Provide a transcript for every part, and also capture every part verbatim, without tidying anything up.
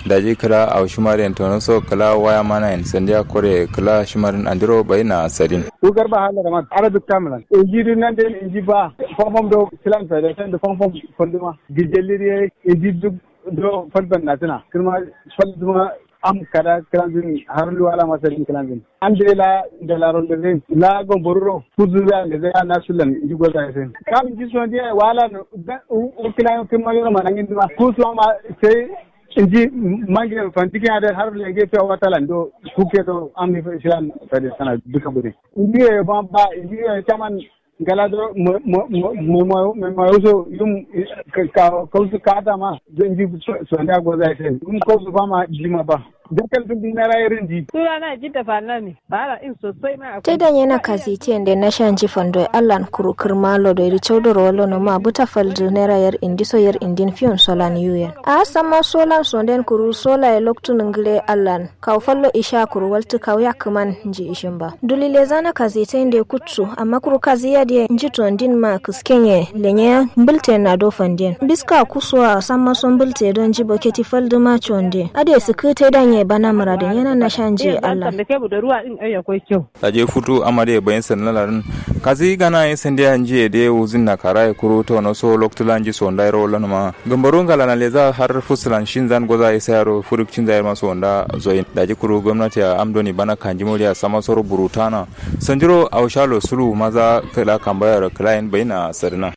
Daji kǝla au shima dǝ yen tono so kǝla waya mana yen sandiya kore kǝla shima dǝn andiro bayi na sadin. Ku garba hala da man ara duk tamilan inji duk nan dai inji ba. Fomfom do kilan sa da san da fomfom fonduma gijelli dai inji duk do falban na tuna kirma falduma. Am kada kilan zin har luwala ma sadin kilan zin an dai la da laron da zin la gomboruro kuzu da da zai na sulan inji goza ya sai kam inji son dai wala no u kilan kirma yoro manangin duma kusu ma sai inji mange fantiki ade har lenge fiya wata lando kuke to amni filan fade sana duka bude inji ye ba ba inji ye taman ngala do mo mo so yum ka ka su kata ma inji so nda goza ite yum ko su fama jima ba dakal dun dinara irin di. Sunana Jidda Falani. Bara in sosai ma akwai. Te danye na kazitiyen de na shanji fando e allan kuru kǝrma lodo iri caudoro wallo no ma buta faldu naira yar indi so yar indin fiyon solan yuyen a samma solan sonden kuru sola ye loktu ningile allan kawu fallo isha kuru waltu kawu yakkǝman nji ishin ba duli leza na kazitiyen de kuttu amma kuru kaziya de nji tondin ma kǝskenye lenye mbǝlten na do fanden biska kusuwa samma so mbǝlte do nji boketi faldu ma conde ade sǝkkǝ te danye bana mǝradin yana na shanji allan. Daje futu amade bayin sanna larin kazi gana ye sandiya nji ye de wuzin na kara ye kuru tono so loktu la nji so ndai ro lon ma gambaru ngala na leza har fusulan shin zan goza ye sayaro furuk cin zai ma so nda zoyin daji kuru gwamnati a amdoni bana kanji moriya sama soro burutana sanjiro aushalo sulu maza kala kambaya ro kala yin bayina sadina.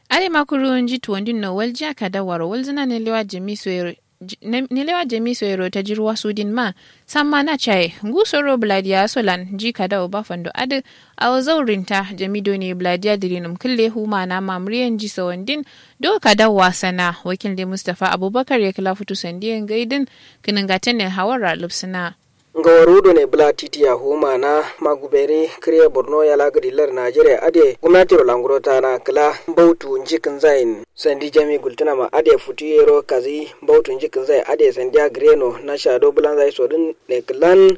Ade ma kuru nji tuwandin no waljiya kada waro walzina ne lewa jami so yero nelewa jami soyero tajirwa sudin ma samma na caye ngu soro bǝladiya solan nji kadawo ba fando adǝ awo zaurinta jami done bǝladiya dǝrinǝm kǝlle huma na mamuriye nji sawandin do kadawo wasana wakil de mustapha abubakar ye kǝla futu sandiye ngaidǝn kǝnǝngatǝnnen hawarra lǝpsǝna. Ngawaru done bǝla titiya huma na maguberi kǝriye borno yala gǝdillar najeriya adǝ ye gumnatiro languro tana kǝla mbautu nji kǝnzayin sandi jami gultǝnama adǝ ye futu yero kazi mbautu nji kǝnzayin adǝ ye sandiya gǝreno nasha do bǝlanza ye sodǝn ne kǝlan.